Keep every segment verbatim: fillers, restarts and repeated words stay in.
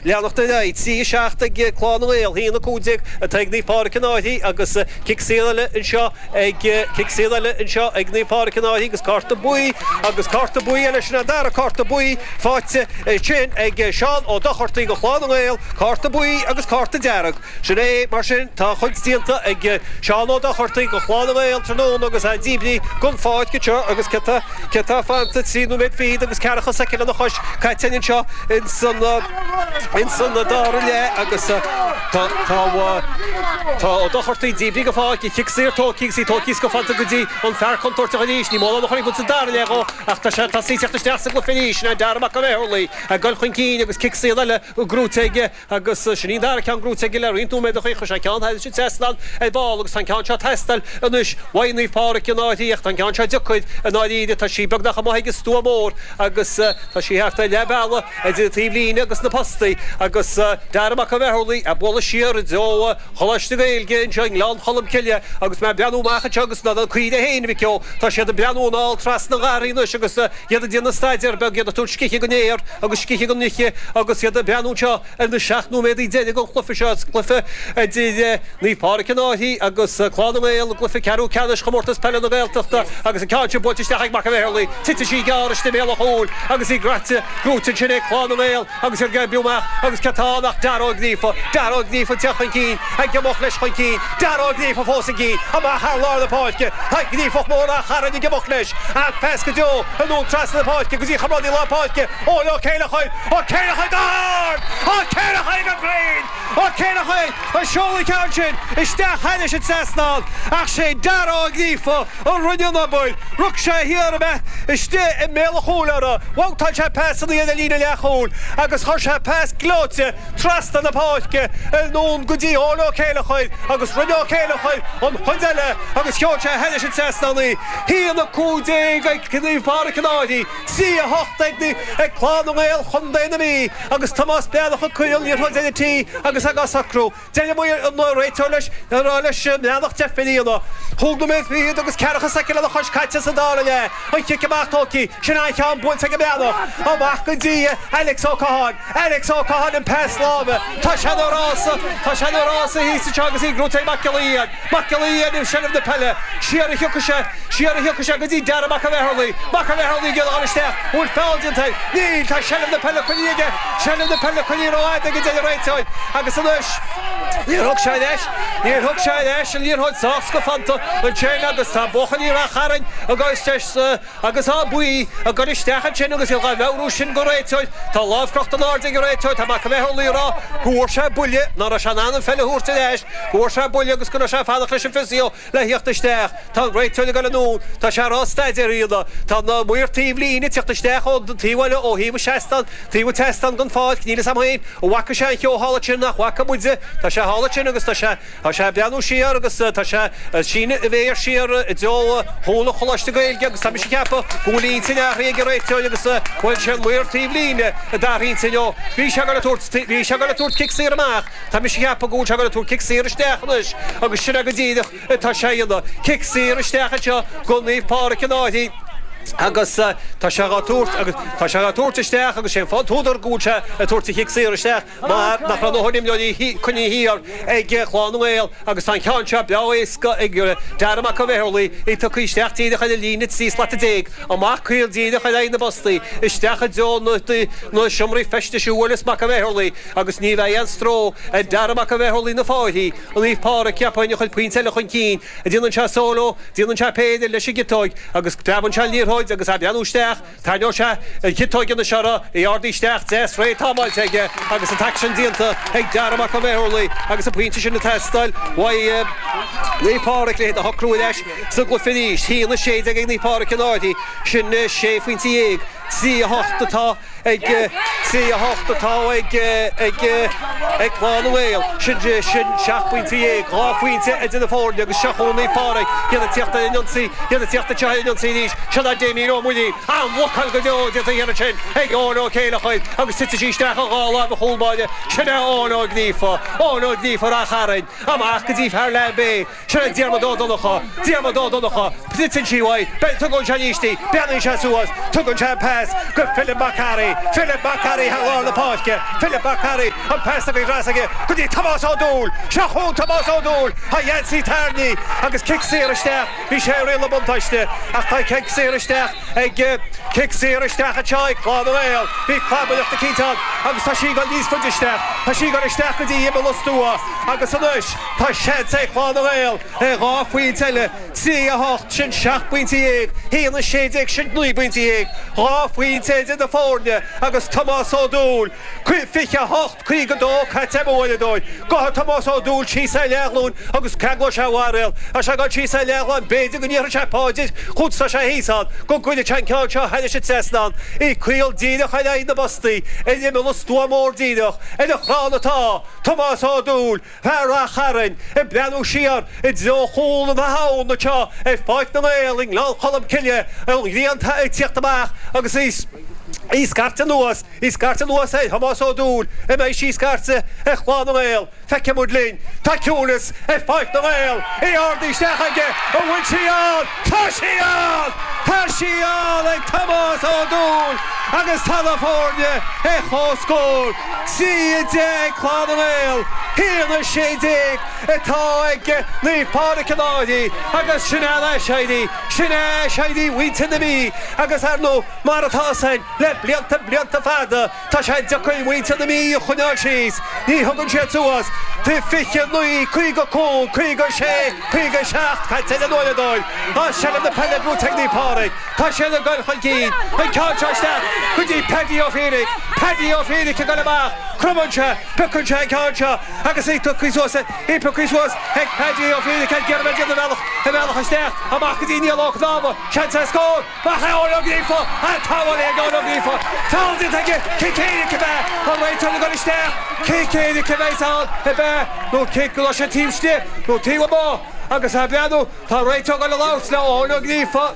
Leanacht ar aghaidh. Trí a seacht ag Clann na nGael, a haon a cúig déag atá ag Naomh Pádraig an Fhairche agus cic saor eile anseo ag cic saor eile anseo ag Naomh Pádraig an Fhairche agus cárta buí agus cárta buí eile sin an dara cárta buí faighte sin ag Seán Ó Dochartaigh do Chlann na nGael, cárta buí agus cárta dearg. Sin é mar sin tá a chuid déanta ag Seán Ó Dochartaigh do Chlann na nGael tráthnóna agus é díbrithe den pháirc anseo agus cé tá cé tá fanta trí nóiméad fichead agus ceathracha soicind lena chois caite anseo ins an ins an dara leath agus tá tá tá Ó Dochartaigh díbrithe den pháirc cic saor tógtha agus í tógtha go fanta go dtí an fear contúirteach arís ní mórán a chuir sa dara leath dhó ach tá sé tá sí teacht isteach sa gcluiche arís sin Dara Mac an Bheatharlaí ag dul chun cinn agus cic saor eile gnóthaithe aige agus sin í an dara ceann gnóthaithe aige le roinnt nóiméad a chuir sé ceann thairis an trasnán ar ball agus tá an ceann seo ag teastáil anois uaidh Naomh Pádraig an Fhairche ach tá an ceann seo deacair i ndáiríre tá sí beagnach amuigh ag an stua mór agus tá sí thart ar leath bealaigh idir an taobhlíne agus na postaí agus Dara Mac an Bheatharlaí ag bualadh siar i dtreo Choláiste Gaeilge anseo i nGleann Cholm Cille agus mé ag breathnú amach anseo agus na caoirigh féin a mhic ó tá siad ag breathnú anall trasna an gharraí anois agus iad ag déanamh staidéar beag iad ag tabhairt scíth don fhéar agus scíth don oíche agus iad ag breathnú anseo ar na seacht nóiméadaí deiridh den chluiche seo is cluiche idir Naomh Pádraig an Fhairche agus Clann na nGael i gcluiche ceathrú ceannais Chomórtas Peile na Gaeltachta agus an ceann sin buailte isteach ag Mac an Bheatharlaí titeann sí gearr istigh i mbéal an chúil agus í graite gnóthaithe ansin ag Clann na nGael agus iad ag oibriú amach agus cé tá ann ach Dara Ó Gríofa Dara Ó Gríofa ag teacht chun cinn ag imeacht leis chun cinn Dara Ó Gríofa fós chun cinn amach thar lár na páirce tá Gríofach mór Ráth Chairn ag imeacht leis an phas go deo anonn trasna na páirce go dtí comrádaí lár páirce Eoin Ó Céileachair Ó Céileachair go hard Ó Céileachair go cruinn Ó Céileachair a sheol an ceann sin isteach thairis an trasnán ach sé Dara Ó Gríofa a rinne an obair rug sé thiar amach istigh i mbéal an chúil orthu bhabhtáil sé pas aniar ar líne leathchúil agus chuir sé pas gleoite trasna na páirce anonn go dtí Eoin Ó Céileachair agus rinne Ó Céileachair an chuid eile agus sheol sé thairis an trasnán í. haon a cúig déag ag Naomh Pádraig an Fhairche, trí a hocht ag ag Clann na nGael Chontae na Mí agus Tomás Breathnach ag cur an liathróid ar an tí agus á socrú. Deir an réiteoir leis ag rá leis an mBreathnach deifir a dhéanamh. Cúig nóiméad fichead agus ceathracha soicind lena chois caite sa dara leath. An chic amach tógtha, sin an-cheann buailte ag an mBreathnach. Amach go dtí Alex Ó Catháin. Alex Ó Catháin an pas láimhe. Tá sé ina rása, tá sé ina rása thíos anseo agus í gnóthaithe ag Mac Giolla Fhiain. Mac Giolla Fhiain i seilbh na peile. Siar a thiocfaidh sé, siar a thiocfaidh sé go dtí Dara Mac an Bheatharlaí. Mac an Bheatharlaí ag iarraidh a dhul isteach. An bhfuil feall déanta air? Níl, tá seilbh na peile coinnithe aige. Seilbh na peile coinnithe rófhada aige, a deir an réiteoir. Agus anois, níor thug sé ar ais, níor thug sé ar ais an liathróid sách scafánta ansin agus tá buachaillí Ráth Chairn agus agus ádh buí ag dul isteach ansin agus iad dhá mheabhrú sin don réiteoir. Tá lámh crochta in airde ag an réiteoir, tá Mac an Bheatharlaí ag rá go bhfuair sé buille, ná raibh sé in ann an pheil a thabhairt ar ais, go bhfuair sé buille agus go raibh sé ag fanacht leis an physio le theacht isteach. Tá an réiteoir ag dul anonn, tá sé ag rá staidéar a dhéanamh. Tá na maoir taobh líne ag teacht isteach ón taobh eile ó thaobh an seastán, taobh an tseastáin den pháirc, níl fhios a'm féin an bhfaca sé an cheo thall ansin nach bhfaca muide. Tá sé thall ansin agus tá sé. Tá sé ag breathnú siar agus tá sé ag síneadh a mhéar siar i dtreo chúl an Choláiste Gaeilge agus tá mise ag ceapadh go bhfuil intinn athraithe ag an réiteoir agus go bhfuil sé an maor taobh líne a d'athraigh intinn ó bhí sé ag dul a tabhairt bhí sé ag dul a tabhairt cic saor amach tá mise ag ceapadh go bhfuil sé ag dul a tabhairt cic saor isteach anois agus sin é go díreach atá sé a dhéanamh cic saor isteach anseo go Naomh Pádraig an Fhairche agus tá sé dhá tabhairt agus tá sé dhá tabhairt isteach agus sé an fáth an t-údar go bhfuil sé ag tabhairt an chic saor isteach mar nach raibh a ndóthain imreoirí coinnithe thiar ag Clann na nGael agus tá an ceann seo breá éasca ag Dara Mac an Bheatharlaí, í tugtha isteach díreach ar an líne trí slata déag, amach caol díreach ar aghaidh na bpostaí, isteach i dtreo na seomraí feistis a bhuaileas Mac an Bheatharlaí agus ní bheidh aon stró ar Dara Mac an Bheatharlaí na Fáirchí, Naomh Pádraig, cheapfainn, a chuir pointe eile chun cinn. Déanann sé solo, déanann sé péire leis an gciotóig agus preabann sé an liathróid agus é ag breathnú isteach. Tarraingeoidh sé an chiotóig anois orthu, í ardaithe isteach, deas réidh támáilte aige agus an t-aicsean déanta ag Dara Mac an Bheatharlaí agus an pointe sin ag teastáil uaidh Naomh Pádraig le hiad a shocrú ar ais sa gcluiche arís. a haon a sé déag ag Naomh Pádraig an Fhairche, sin sé phointe dhéag, trí a hocht atá ag trí a hocht atá ag ag ag Clann na nGael. Sin sin seacht bpointe dhéag, dhá phointe idir na foirne agus seo chugainn Naomh Pádraig, iad ag tíocht ar an ionsaí, iad ag tíocht anseo ar an ionsaí arís. Seo é Damien Ó Muirí, an-bhlocáil go deo déanta thiar ansin ag Eoin Ó Céileachair agus titeann sí isteach i dhá láimh an chúl báire. Sin é Eoin Ó Gríofa, Eoin Ó Gríofa Ráth Chairn, amach go dtí fear Leath Bhé. Sin é Diarmuid Ó Donnchadha, Diarmuid Ó Donnchadha, titeann sí uaidh, tugann sé arís í, breathnaíonn sé suas, tugann sé an pas go Philip Mac Fhearraigh, Carthy Philip McCarry thar lár na páirce Philip McCarry an pas go aige go dtí Tomás Ó Dúill seo chugainn Tomás Ó Dúill a Jancy Tarni agus cic saor isteach bhí sé riail na buntáiste ach tá cic saor isteach ag cic saor isteach anseo ag Clann na nGael bhí clabaileachta cinnte agus tá sí ag dul níos faide isteach tá sí ag dul isteach go dtí imeall an stua agus anois tá seans ag Clann na nGael é dhá phointe eile trí a hocht sin seacht bpointe dhéag haon a sé déag sin naoi bpointe dhéag dhá phointe idir na foirne agus Tomás Ó Dúill fiche a hocht caoga dó caite amú eile dóibh Gabhfaidh Tomás Ó Dúill síos ar leathghlúin agus ceanglóidh sé a bharréal Tá sé ag dul síos ar leathghlúin b'fhéidir go ndéarfaidh sé paidir chugat tá sé thíos ann go gcuirfidh sé an ceann seo thairis an trasnán í caol díreach ar aghaidh na bpostaí ar imeall an stua mór díreach ar an chrann atá Tomás Ó Dúill fear Rath Chairn ag breathnú siar i dtreo chúl na habhann anseo ar Pháirc na nGael i nGleann Cholm Cille an ghrian ag tíocht amach agus í í scairteadh anuas í scairteadh anuas ar Thomás Ó Dúill an mbeidh sí scairte ar Chlann na nGael Feicfidh muid linn. Tá ciúnas ar Pháirc na nGael í ardaithe isteach aige an bhfuil sí ann? Tá sí ann! Tá sí ann ag Tomás Ó Dúill agus tá na foirne ar comhscór. Trí a deich ag Clann na nGael, haon a sé déag atá ag Naomh Pádraig an Fhairche agus sin é an aiséirí, sin é aiséirí mhuintir na Mí agus ar ndóigh mar atá san le blianta blianta fada tá sé deacair muintir na Mí a choinneáil síos, ní thugann siad suas tá fiche naoi, caoga cúig, caoga sé, caoga seacht caite le nuair a dóibh. Tá seilbh na peile buaite ag Naomh Pádraig. Tá siad ag dul chun cinn. An ceann seo isteach go dtí Paddy Ó Fiaich. Paddy Ó Fiaich ag dul amach. Cromann sé, piocann sé an ceann seo agus í tugtha suas, í pioctha suas ag Paddy Ó Fiaich ag iarraidh a bheith ag déanamh a bhealach, a bhealach isteach, amach go dtí Niall Ó Cnámha. Seans ar scór! Maith é Eoin Ó Gríofa! An t-amháin ag Eoin Ó Gríofa! Feall déanta aige! Cic éirice ab ea? An réiteoir ag dul isteach! Cic éirice a bheas ann ab ea? Nó cic go raibh sé taobh istigh nó taobh amuigh? Agus ag breathnú, tá an réiteoir ag dul a labhairt le Eoin Ó Gríofa.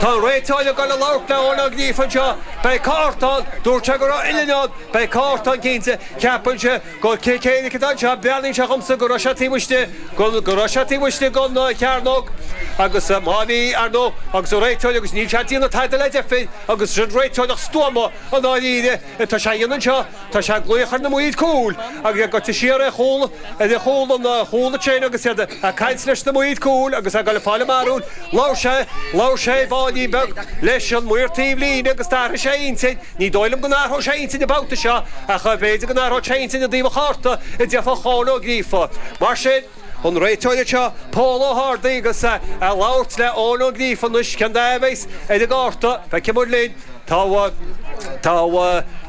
Tá an réiteoir ag dul a labhairt le Eoin Ó Gríofa anseo. Beidh cárta ann. Dúirt sé go raibh uillinn ann. Beidh cárta ann cinnte. Ceapann sé gur cic éirice atá anseo. Breathnaíonn sé dhomsa go raibh sé taobh istigh, go raibh sé taobh istigh den chearnóg agus má bhí, ar ndóigh, agus an réiteoir agus níl sé ag déanamh tada le deifir agus sin réiteoireacht stuama i ndáiríre atá sé a dhéanamh anseo. Tá sé ag glaoch ar na maoir cúil agus ag goil siar ar chúl, ar chúl an chúl ansin agus iad ag caint leis na maoir cúil agus ag dul ag fáil a mbarúil. Labhair sé, labhair sé beagáinín beag leis an maor taobh líne agus d'athraigh sé a intinn. Ní dóigh liom go n-athróidh sé a intinn an babhta seo ach b'fhéidir go n-athróidh sé a intinn i dtaobh an chárta a d'fhéadfadh Eoin Ó Gríofa. Mar sin, an réiteoir anseo, Pól Ó hArdaigh agus ag labhairt le Eoin Ó Gríofa anois cén dath a bheas ar an gcárta. Feicfidh muid linn. Tá tá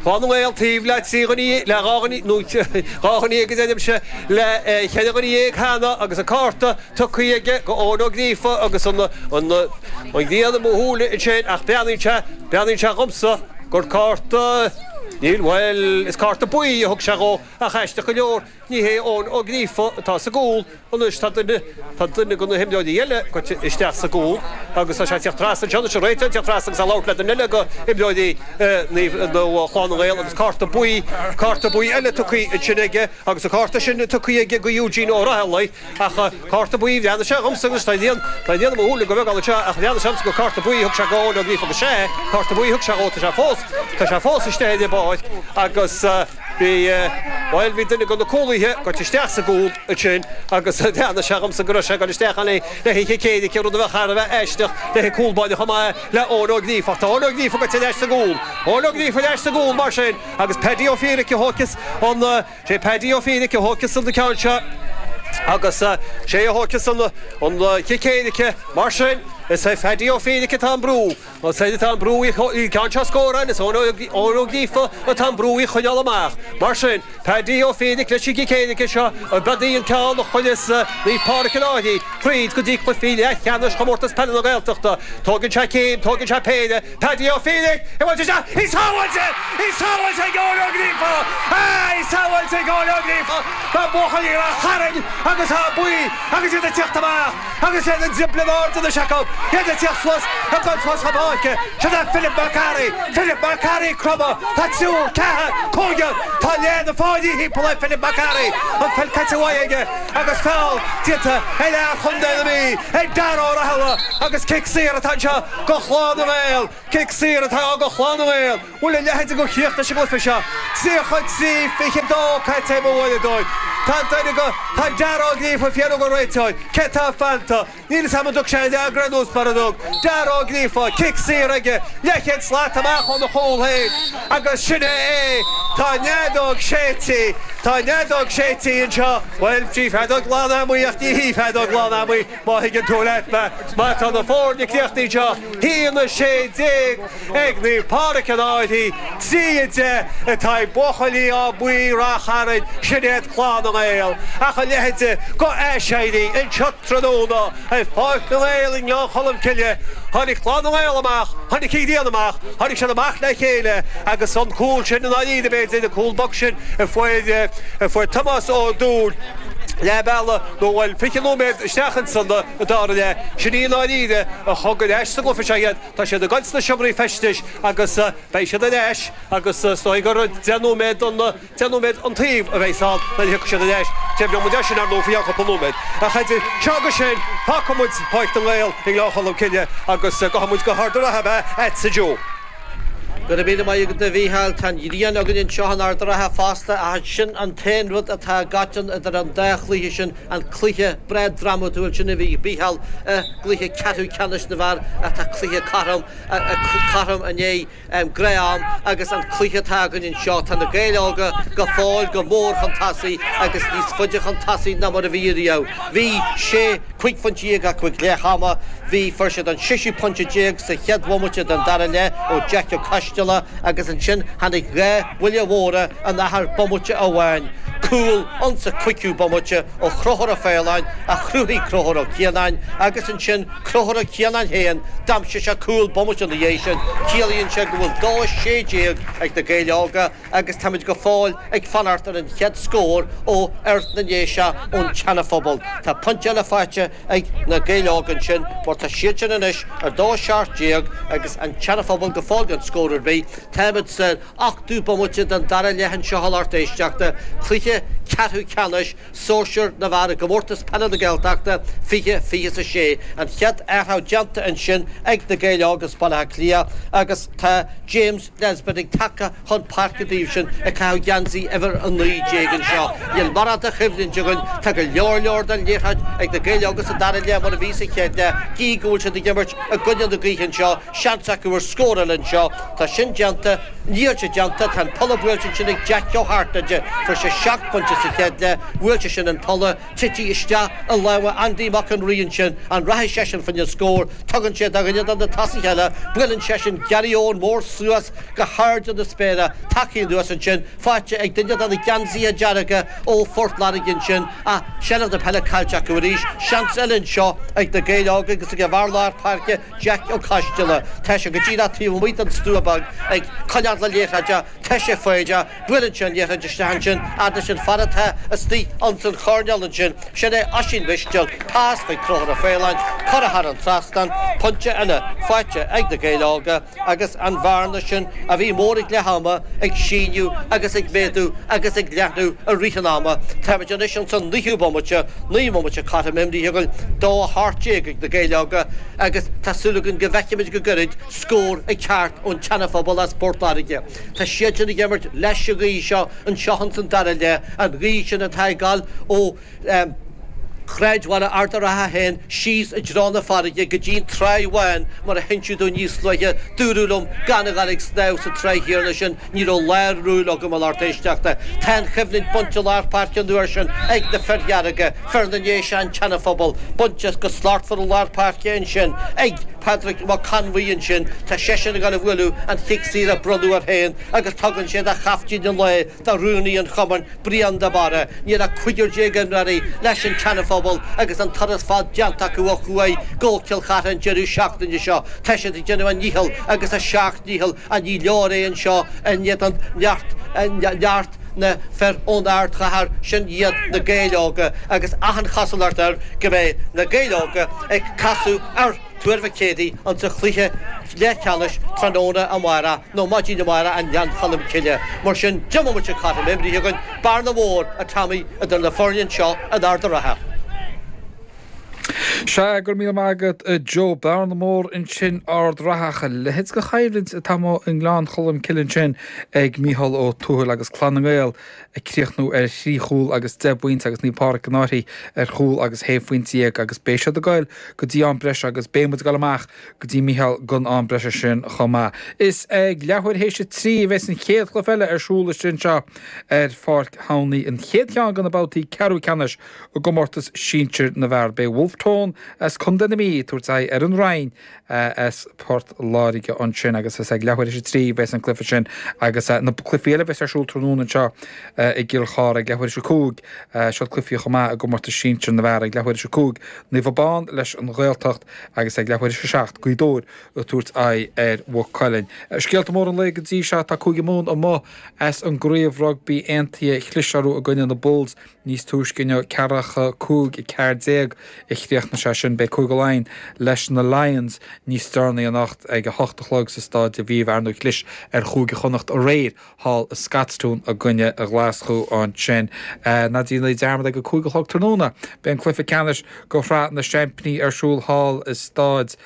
Clann na nGael taobh le trí dhuine, le dhá dhuine, nó dhá dhuine dhéag a deirimse, le ceithre dhuine dhéag cheana agus an cárta tugtha aige go Eoin Ó Gríofa agus an an an ghrian i mo shúile ansin ach breathnaíonn sé, breathnaíonn sé dhomsa gur cárta, níl, bhuel, is cárta buí a thug sé dhó ach aisteach go leor ní hé Eoin Ó Gríofa atá sa gcúl anois, tá duine, tá duine de na himreoirí eile goite isteach sa gcúl agus tá sé ag tíocht trasna anseo anois, an réiteoir ag tíocht trasna agus ag labhairt le duine eile de imreoirí Naomh, nó Chlann na nGael agus cárta buí, cárta buí eile tugtha ansin aige agus an cárta sin tugtha aige go Eugene Ó Raghallaigh. Ach cárta buí, bhreathnaigh sé dhomsa agus tá an tá an ghrian i mo shúile go bheag anseo ach bhreathnaigh sé dhomsa gur cárta buí a thug sé go Eoin Ó Gríofa agus sea, cárta buí a thug sé dhó, tá sé fós, tá sé fós istigh ar an bpáirc agus bhí, bhuel, bhí duine de na cúlaithe goite isteach sa gcúl ansin agus bhreathnaigh sé dhomsa go raibh sé ag dul isteach ann le haghaidh chic éirice, rud a bheadh thar a bheith aisteach le haghaidh cúl báire chomh maith le Eoin Ó Gríofa. Ach tá Eoin Ó Gríofa goite ar ais sa gcúl, Eoin Ó Gríofa ar ais sa gcúl mar sin agus Paddy Ó Fiaraic a thógfas an, Sé Paddy Ó Fiaraic a thógfas an ceann seo agus sé a thógfas an chic éirice. Mar sin, is é Paddy Ó Fiaraic atá i mbrú. Is é atá i mbrú an ceann seo a scóráil, is Eoin Ó Gríofa atá i mbrú í a choinneáil amach. Mar sin, Paddy Ó Fiaraic leis an gcic éirice seo, ab í an ceann a chuirfeas Naomh Pádraig an Fhairche tríd go dtí cluichí leathcheannais Chomórtas Peile na Gaeltachta. Tógann sé céim, tógann sé péire, Paddy Ó Fiaraic, i bhfad isteach, í sábháilte! Í sábháilte ag Eoin Ó Gríofa! Í sábháilte ag Eoin Ó Gríofa. Tá buachaillí Ráth Chairn agus Áth Buí agus iad ag teacht amach agus iad ag driobladh in airde anois acu. Iad ag teacht suas ag dul suas chun páirce. Sin é Philip McCarry. Philip McCarry cromadh. Tá triúr, ceathair, cúigear. Tá léine fáidhí thimpeall ar Philip McCarry. An pheil caite uaidh aige agus feall déanta ar fhear Chontae na Mí ag Dara Ó Rathaille agus cic saor atá anseo go Chlann na nGael. Cic saor atá go Chlann na nGael. Bhfuil a leithéid de chríoch leis an gcluiche seo. Tríocha trí fiche dó caite mo bhualadóir. Tá duine go tá Dara Ó Gríofa fiú go réiteoir. Cé tá fanta. Níl a fhios agam an dtug sé an fhreagra anuas mar a dtug. Dara Ó Gríofa, cic saor aige, leathchéad slat amach óna chúl féin agus sin é é. Tá an fheadóg séidte, tá an fheadóg séidte anseo. Bhuel, sí feadóg lán amuigh ach ní hí feadóg lán amuigh má thuigeann tú leat mé. Má tá na foirne críochnaithe anseo, haon a sé déag ag Naomh Pádraig an Fhairche, trí a deich atá ag buachaillí Áth Buí Ráth Chairn, sin iad Clann na nGael. Ach a leithéid de aiséirí anseo tráthnóna ar Pháirc na nGael i nGleann Cholm Cille. Tháinig Clann na nGael amach, tháinig Cill Ghrianna amach, tháinig siad amach le chéile agus an cúl sin i ndáiríre b'fhéidir, an cúl bog sin a fuair a fuair Tomás Ó Dúill leath bealaigh nó bhuel fiche nóiméad isteach insan dara leath. Sin í i ndáiríre a thug ar ais sa gcluiche seo iad. Tá siad ag goil sna seomraí feistis agus beidh siad ar ais agus is dóigh gur deich nóiméad an deich nóiméad an taobh a bheidh ann nuair a thiocfaidh siad ar ais. Deimhneoidh muid é sin ar ndóigh faoi cheann cúpla nóiméad. Ach idir seo agus sin, fágfaidh muid Páirc na nGael i nGleann Cholm Cille agus gabhfaidh muid go hArd an Rátha ab ea a'dsa Joe. Go raibh míle maith agat a Mhícheáil. Tá an ghrian againn anseo in Ard an Rátha fosta ach sin an t-aon rud atá i gcoiteann idir an dá chluiche sin, an cluiche breá drámatúil sin a bhí ag Mícheál i gcluiche ceathrú ceannais na bhfear atá cluiche cothrom cothrom i ndiaidh gnáth-am agus an cluiche atá againn anseo. Tá na Gaeil Óga go fóill go mór chun tosaigh agus níos faide chun tosaigh ná mar a bhí riamh. Bhí sé cúig phointe déag acu ag leath ama. Bhí fuair siad an séú pointe déag sa chéad bhomaite den dara leath ó Jack Ó Coisteala agus ansin tháinig dhá bhuille mhóra in achar bomaite amháin. Cúl insa cúigiú bomaite ó Chonchúr Ó Faoláin a chruthaigh Conchúr Ó Cianáin agus ansin Conchúr Ó Cianáin féin d'aimsigh sé cúl bomaite ina dhiaidh sin. Ciallaíonn sé go bhfuil dó sé déag ag na Gaeil Óga agus táimid go fóill ag fanacht ar an chéad scór ó fhear na nDéise ón tSeana-Phobal. Tá pointe eile faighte ag na Gaeil Óga ansin mar tá siad sin anois ar dó seacht déag agus an tSeana-Phobal go fóill gan scór ar bith. Táimid san ochtú bomaite den dara leath anseo a lucht éisteachta, cluiche ceathrú ceannais sóisear na bhfear i gcomórtas peile na Gaeltachta fiche fiche is a sé. An chéad athrú déanta ansin ag na Gaeil Óga as Baile Átha Cliath agus tá James Nesbitt ag tagtha chun páirce dóibh sin ag caitheamh geansaí uimhir a naoi déag anseo. Níl mórán de choimhlint againn, tá go leor leor den liathróid ag na Gaeil Óga sa dara leath mar a bhí sa chéad leath. Gí go bhfuil siad ag imirt i gcoinne na gaoithe anseo, seans acu ar scór eile anseo. Tá sin déanta, níl sé déanta, tá an polla buailte ansin ag Jack Ó hAirtnéide. Fuair sé seacht bpointe sa chéad leath, bhuail sé sin an polla, tití isteach i lámha Andy Mac an Rí ansin, an rachaidh seisean faoina scór, tugann sé do dhuine de na tosaithe eile, buaileann seisean Gary Eoin mór suas go hairde na spéire, tagtha anuas ansin, faighte ag duine de na geansaithe dearga ó Phort Láirge ansin, ach seilbh na peile caillte acu arís, seans eile anseo ag na Gaeil Óga agus ag a bhfear lár páirce Jack Ó Coisteala. Tá sé go díreach taobh amuigh den stua beag ag coinneáil na liathróide, tá sé foighdeach, buaileann sé an liathróid isteach ansin, fhad leis an fear atá istigh ins an choirnéal ansin, sin é Oisín Mistéil, pas chuig Conchúr Ó Faoláin, curtha thar an trasnán, pointe eile faighte ag na Gaeil Óga agus an bhearna sin a bhí mór ag leath ama ag síneadh agus ag méadú agus ag leathnú i rith an ama. Táimid anois ins an naoú bomaite, naoi mbomaite cothrom imrithe againn, dó a hocht déag ag na Gaeil Óga agus tá súil againn go bhfeicfimid go gairid scór ag teacht ón tSeana-Phobal as Port Láirge. Tá siad sin ag imirt leis an ghaoth seo anseo ins an dara leath, an ghaoth sin atá ag gabháil ó shráidbhaile Ard an Rátha féin síos i dtreo na farraige go dtí an Tráigh Bháin mar a hinseadh dúinn níos luaithe, dúradh liom gan a ghabháil ag snámh sa tráigh chéanna sin, ní raibh lá rúil agam a lucht éisteachta. Tá an choimhlint bainte i lár páirce an uair sin ag na fir dhearga, fir na nDéise an tSeana-Phobal, bainte go slachtmhar i lár páirce ansin ag Pádraig Mac Conmhaí ansin, tá seisean ag gabháil a bhualadh an chic saor a bronnadh air féin agus tugann sé do chaiftín an lae, do rúnaí an chumainn, Brian de Barra. Níl ach cúigear déag imreoirí leis an tSeana-Phobal agus an turas fada déanta acu ó thuaidh go Cill Chartha an deireadh seachtaine seo. Tá siad ag déanamh a ndícheall agus a seacht ndícheall ach ní leor é anseo in éadan neart neart na fir ón ardchathair, sin iad na Gaeil Óga agus achan chosúlacht air go mbeidh na Gaeil Óga ag casadh ar Tuar Mhic Éadaigh insa chluiche leathcheannais tráthnóna amárach nó maidin amárach i nGleann Cholm Cille. Mar sin deich mbomaite cothrom imeartha againn, bearna mhór a Tommy idir na foirne seo in Ard an Rátha. Sea, go raibh míle maith agat a Joe. Bearna mhór ansin Ard Rathach. A leithéid de choimhlint atá amuigh i nGleann Cholm Cille ansin ag Mícheál Ó Tuathail agus Clann na nGael ag críochnú ar thrí chúl agus deich bpointe agus Naomh Pádraig an Fhairche ar chúl agus shé phointe dhéag agus beidh siad ag goil go dtí am breise agus beidh muid ag goil amach go dtí Mícheál don am breise sin chomh maith. Is ag leathuair théis a trí a bheas an chéad chluiche eile ar siúl istigh anseo ar Pháirc Thamhnaí, an chéad cheann de na babhtaí ceathrú ceannais i gcomórtas sinsir na bhfear. Beidh Wolfe Tone as Contae na Mí ag tabhairt aghaidh ar an Rinn as Port Láirge ansin agus is ag leathuair théis a trí a bheas an cluiche sin agus na cluichí eile a bheas ar siúl tráthnóna anseo i gCill Chartha ag leathuair théis a cúig. Seo cluichí chomh maith i gcomórtas sinsir na bhfear ag leathuair théis a cúig Naomh Abán leis an Ghaeltacht agus ag leathuair théis a seacht Gaoth Dobhair ag tabhairt aghaidh ar Mhaigh Cuilinn. Scéalta móra an lae go dtí seo, tá Cúige Mumhan amuigh as an gcraobh rugbaí aontaithe chlis orthu i gcoinne na Bulls níos túisce inniu, ceathracha cúig a ceathair déag a chríochnaigh sé sin. Beidh Cúige Laighean leis na Lions níos deireanaí anocht ag a hocht a chlog sa Staid Aviva. Ar ndóigh chlis ar Chúige Chonnacht aréir thall i Scotstoun i gcoinne Ghlaschú ansin. Ná déanaigí dearmad ag a cúig a chlog tráthnóna beidh an cluiche ceannais do Shraith na Seaimpíní ar siúl thall i Staid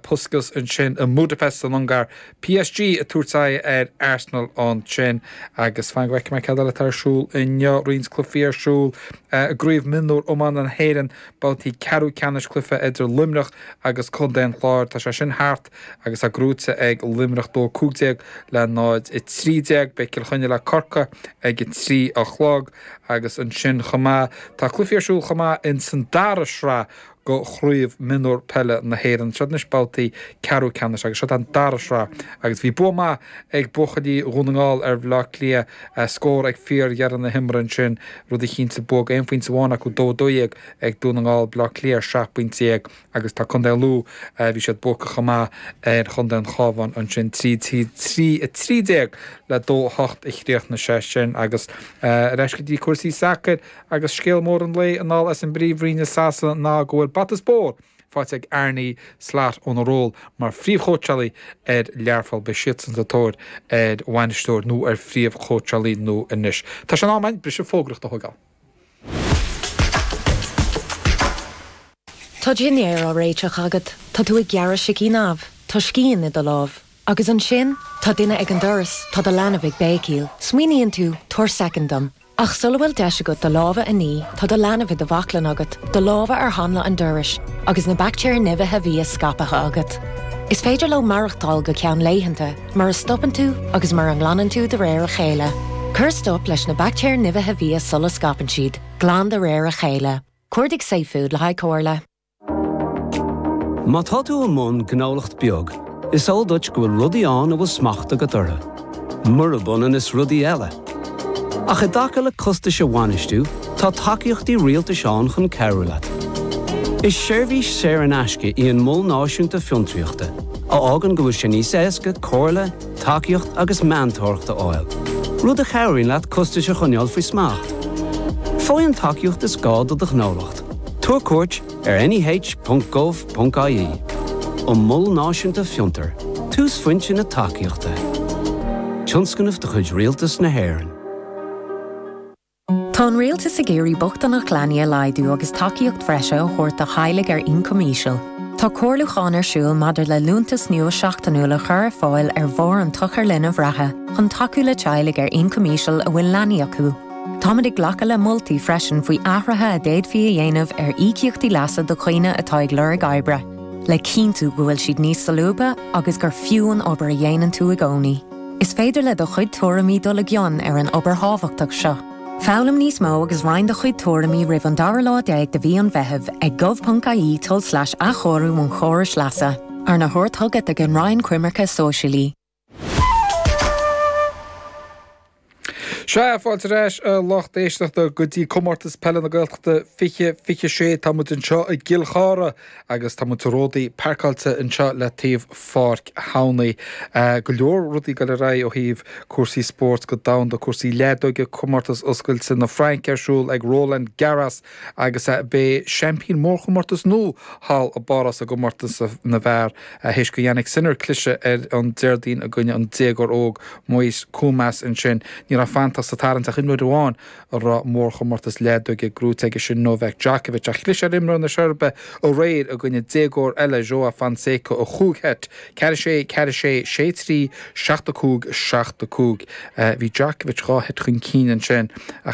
Puskas ansin i mBudapest san Ungáir. PSG ag tabhairt aghaidh ar Arsenal ansin agus fan go bhfeicfidh mé cad eile atá ar siúl inniu. Roinnt cluichí ar siúl i gCraobh Mionúr Iomána na hÉireann, babhtaí ceathrú ceannais cluiche idir Luimneach agus Contae an Chláir. Tá sé sin thart agus é gnóite ag Luimneach dó cúig déag le náid a trí déag. Beidh Cill Chainnigh le Corcaigh ag a trí a chlog agus ansin chomh maith tá cluichí ar siúl chomh maith ins an dara sraith do Chraobh Mionúr Peile na hÉireann. Seo anois babhtaí ceathrú ceannais agus seo an dara sraith agus bhí bua maith ag buachaillí Dhún na nGall ar Bhaile Átha Cliath, scór ag fíordheireadh na himeartha ansin, rud a chinntigh bua aon phointe amháin acu dó dó dhéag ag Dún na nGall, Baile Átha Cliath ar seacht bpointe déag agus tá Contae Lú, bhí siad buacach chomh maith ar Chontae an Chabháin ansin trí trí a trí déag le dó a hocht a chríochnaigh sé sin agus ar ais go dtí cúrsaí sacair agus scéal mór an lae anall as an bPríomhroinn i Sasana ná go bhfuil bata spóir faighte ag Arne Slot óna ról mar phríomhchóitseálaí ar Learpholl. Beidh siadsan sa tóir ar bhainisteoir nó ar phríomhchóitseálaí nua anois. Tá sé in am againn briseadh fógraíochta a thógáil. Tá dinnéar á réiteach agat, tá tú ag gearradh sicín amh, tá scian i do lámh. Agus ansin, tá duine ag an doras, tá do leanbh ag béicíl. Smaoiníonn tú, tabhair soicind dom. Ach sula bhfuil deis agat do lámha a ní, tá do leanbh i do bhaclainn agat, do lámha ar hanla an dorais, agus na baictéir nimhithe bhia scaipthe agat. Is féidir leo maireachtáil go ceann laethanta, mura stopann tú agus mura nglanann tú de réir a chéile. Cuir stop leis na baictéir nimhithe bhia sula scaipeann siad, glan de réir a chéile. Cuardaigh safefood le haghaidh comhairle. Má tá tú i mbun gnólacht beag, is eol duit go bhfuil rudaí ann a bhfuil smacht agat orthu. Murab ionann is rudaí eile. Ach i dtaca le costais a bhainistiú, tá tacaíochtaí rialtais ann chun cabhrú leat. Is seirbhís saor in aisce í an Mol Náisiúnta Fiontraíochta, a fhágann go bhfuil sé níos éasca comhairle, tacaíocht agus meantóireacht a fháil, rud a chabhraíonn leat costais a choinneáil faoi smacht. Faigh an tacaíocht is gá do do ghnólacht. Tabhair cuairt ar neh.gov.ie. An Mol Náisiúnta Fiontar, túsphointe na tacaíochta. Tionscnamh de chuid Rialtas na hÉireann. Tá an rialtas ag iarraidh bochtaineacht leanaí a laghdú agus tacaíocht bhreise a thabhairt do theaghlaigh ar ioncam íseal. Tá comhairliúchán ar siúl maidir le liúntas nua seachtainiúil a chur ar fáil ar bharr an tsochair linbh reatha chun tacú le teaghlaigh ar ioncam íseal a bhfuil leanaí acu. Táimid ag glacadh le moltaí freisin faoi athruithe a d'fhéadfaí a dhéanamh ar íocaíochtaí leasa do dhaoine atá ag lorg oibre, le cinntiú go bhfuil siad níos solúbtha agus gur fiú an obair a dhéanann tú i gcónaí. Is féidir le do chuid tuairimí dul i gcion ar an obair thábhachtach seo. Foghlaim níos mó agus roinn do chuid tuairimí roimh an dara lá déag de mhí an Mheithimh ag gov.ie tulslais athchóiriú an chórais leasa, arna thabhairt chugat ag an Roinn Coimirce Sóisialaí. Sea, fáilte ar ais a lucht éisteachta go dtí Comórtas Peile na Gaeltachta fiche fiche sé. Tá muid anseo i gCill Chartha agus tá muid ródaí páirceáilte anseo le taobh Pháirc Thamhnaigh. Go leor rudaí ag dul ar aghaidh ó thaobh cúrsaí spóirt go domhanda, cúrsaí leadóige, Comórtas Oscailte na Fraince ar siúl ag Roland Garros agus beidh seaimpín mórchomórtas nua thall i bPáras i gcomórtas na bhfear théis do Jannik Sinner cliseadh ar an Déardaoin i gcoinne an déagóir óg Moise Koumas ansin. Ní raibh fanta sa tarraingt ach imreoir amháin a raibh mórchomórtas leadóige gnóthaithe aige, sin Novak Djokovic. Ach chlis ar imreoir na Seirbia aréir i gcoinne déagóir eile, Joao Fonseca, i chúig sheit, ceathair a sé, ceathair a sé, sé a trí, seacht a cúig, seacht a cúig. Bhí Djokovic dhá sheit chun cinn ansin ach